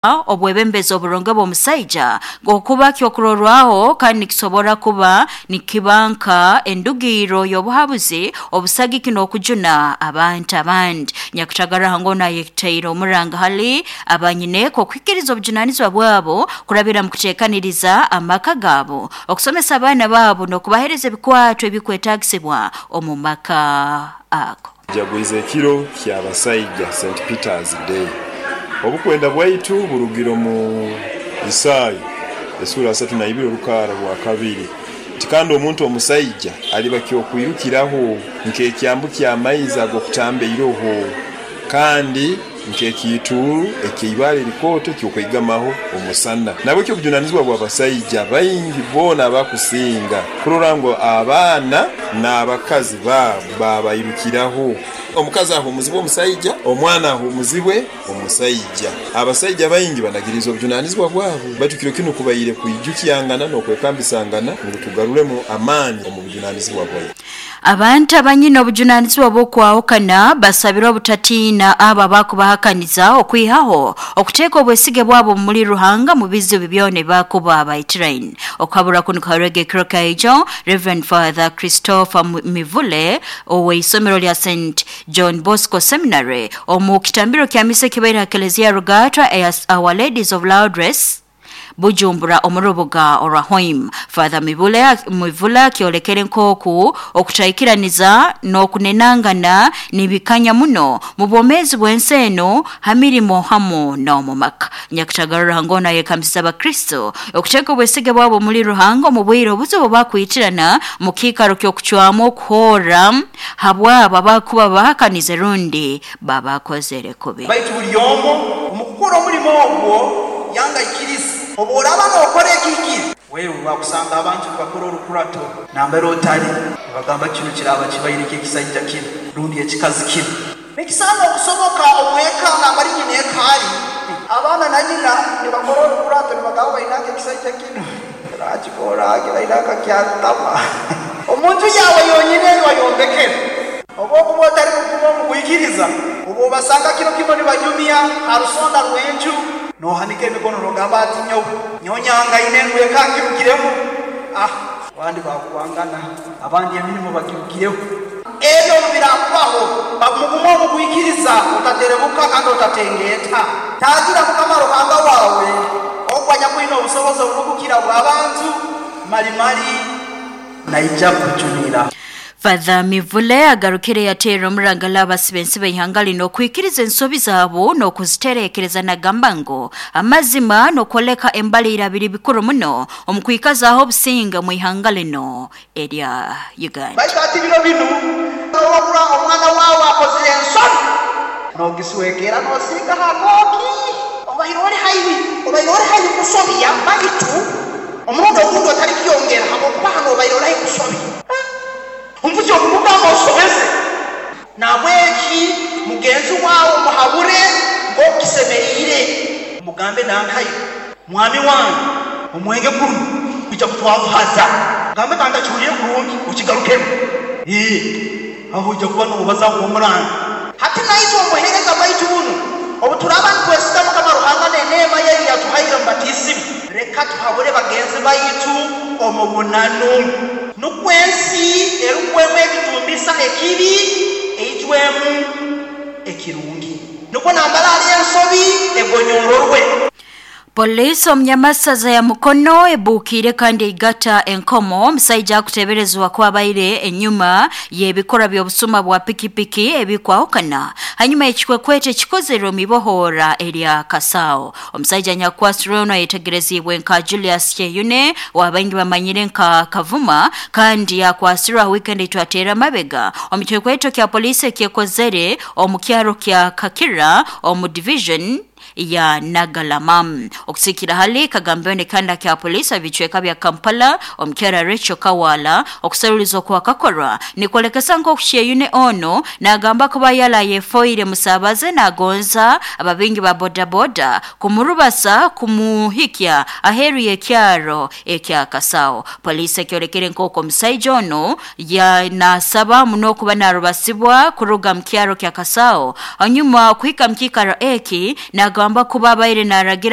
Obwebembezi oburungi bw'omusaija okuba kyokurorwaho kandi nikisobora kuba nikiba nka endugirro y'obuhabuzi, obusagiki n'okujuna abantu abandi. Nyakatagara Hangono ayetaire omuranga hali abanyineeka okuhikiriza obujunanizibwa bwabo kurabira mu kuteekaniriza amaka gaabo, okusomesa abaana baabo n'okubaheereza ebikwato ebikwetaagisibwa omu maka ago. Jagwize ekiro ky'abasaija, St. Peter's Day. Obukwenda bwaitu burugire omu Isaya esura 32 orukaara rwa kabiri nti, Kandi omuntu omusaija aliba ky'okwirukiraho nk'ekyambu ky'amaizi ag'okutamba eiroho, kandi nk'ekiituuru eky'eibaale erikooto eky'okweigamaho omusana. Nabwekyo obujunanizibwa bw'abasaija baingi boona abakusinga kurora ngu abaana n'abakazi baabo babairukiraho. Omukazi ahuumuzibwe omusaija, omwana ahuumuzibwe omusaija. Abasaija baingi banagiriize obujunanizibwa bwabo, baitu kiro kinu kubaire kwijukyangana n'okwekambisangana ngu tugaruremu amaani omu bujunanizibwa bwaitu. Abantu abanyine obujunanizibwa bw'okwahukana basabire obutatiina abo abakubahakaniza okwihaho okuteeka obwesige bwabo muli Ruhanga mu bizibu byona ebibakuba baitiraine. Okuhabura kunu kuhairwege ekiro kaijo Reverend Father Christopher Mivule ow'eisomero lya St John Bosco Seminary omu kitambiro kya misa ekibaire ha Kelezia Rugatwa eya Our Ladies of Lourdes Bujumbura omu rubuga orwa Hoima. Father Mivule akyolekere nk'oku okutaikiraniza n'okunenangana nibikanya muno mu bwomeezi bw'ensi enu ha mirimo hamu n'omu maka. Nyakatagara Ruhanga onu ayekambisize Abakristo okuteeka obwesige bwabo muli Ruhanga omu bwire obuzibu bakwitirana mu kiikaro ky'okucwamu okuhoora habwabo abakuba bahakanize rundi babakozere kubi. Baitu buli omu omu kukora omulimo ogwo yanga aikirize. Obu oraaba nookora ekihikire, wewe bakusanga abantu nibakora orukurato nambere otali, nibagamba kinu kiraaba kibaire ky'ekisaija kinu rundi ekikazi kinu. Nikisaana okusoboka omu eka nambali nyina eka ali, abaana na nyina nibakora orukurato nibagamba bainanka ekisaija kinu kirakikora kirainanka kyantama. Omu nju yaawe yonyini ei wayombekere. Obu okuba otali mugumu omu kwikiriza, obu obasanga kiro kimu nibanyumya ha rusonda rw'enju, nohanika emikono nogamba ati, Nyowe, nyowe nyangaine ngu eka ngirugiremu. Ah, abandi bakuwangana, abandi emirimo bagirugireho. Ebyo obu birakubaho, ba mugumu omu kwikiriza, otaterebuka kandi otatengeeta. Taagira Mukama Ruhanga wawe, ogwo anyakwine obusobozi oburukukira obw'abantu, mali mali naija kukujunira. Father Mivule agarukire yateera omurangala abasibensi b'eihanga lino okwikiriza ensobi zaabo n'okuzitereekereza nagamba ngu amazima n'okwoleka embaliira biri bikuru muno omu kwikazaaho obusinge omu ihanga lino erya Uganda. Baitu hati biro binu, n'orora omwana waawe akozire ensobi, noogiswekeera noosiigaho akooki. Obaire ori haihi, obaire ori haihi kusobya, baitu omurundi ogundi otalikyongera habwokuba hanu obaire ori haihi kusobya. Omuvugi okumugamba osobeze. Nahabweki mugenzi waawe omuhabure nk'oku kisemeriire. Omugambe nankayo, Mwami wange, omwenge gunu gwija kutwavuhaza. Gambe kandi ntakihuliire kurungi, okigarukemu. Ee, aho oija kuba noobaza nk'omurangi. Hati naitwe omu buheereza bwaitu bunu, obu turaaba nitwesiga Mukama Ruhanga n'eneema ye ei yatuhaire omu batiisimu, leka tuhabule bagenzi baitu omu bunanu, nukwo ensi erugwemu ebitumbisa ekibi, eijwemu ekirungi. Nukwo nambere hali ensobi egonyororwe. Poliisi omu Nyamasaza ya Mukono ebuukiire kandi eigata enkomo omusaija akuteeberezebwa kuba abaire enyuma y'ebikorwa by'obusuma bwa pikipiki ebikwahukana hanyuma y'ekikwekweto ekikozerwe omu ibohoora erya Kasao. Omusaija anyakukwasirwe onu ayetegereziibwe nka Julius Kyeyune ou baingi bamanyire nka Kavuma kandi yakwasirwe ha wiikendi eitwateera amabega omu kikwekweto kya poliisi ekyekozere omu kyaro kya Kakira omu division ya Nagalama. Okusikira hali kagambiwe n'ekihanda kya poliisi aha bicweka bya Kampala, omukyara Rachel Kawala, okuseruliza okwakakorwa nikwolekesa nk'oku Kyeyune onu nagamba kuba yali ayefoire musaabaze nagonza ababingi ba bodaboda kumurubasa kumuhikya aheeru y'ekyaro ekya Kasao. Poliisi ekyolekere nk'oku omusaija onu nasaba muno kuba narubasibwa kuruga mu kyaro kya Kasao hanyuma okuhika mu kiikaro eki. Akugamba kuba abaire naragira.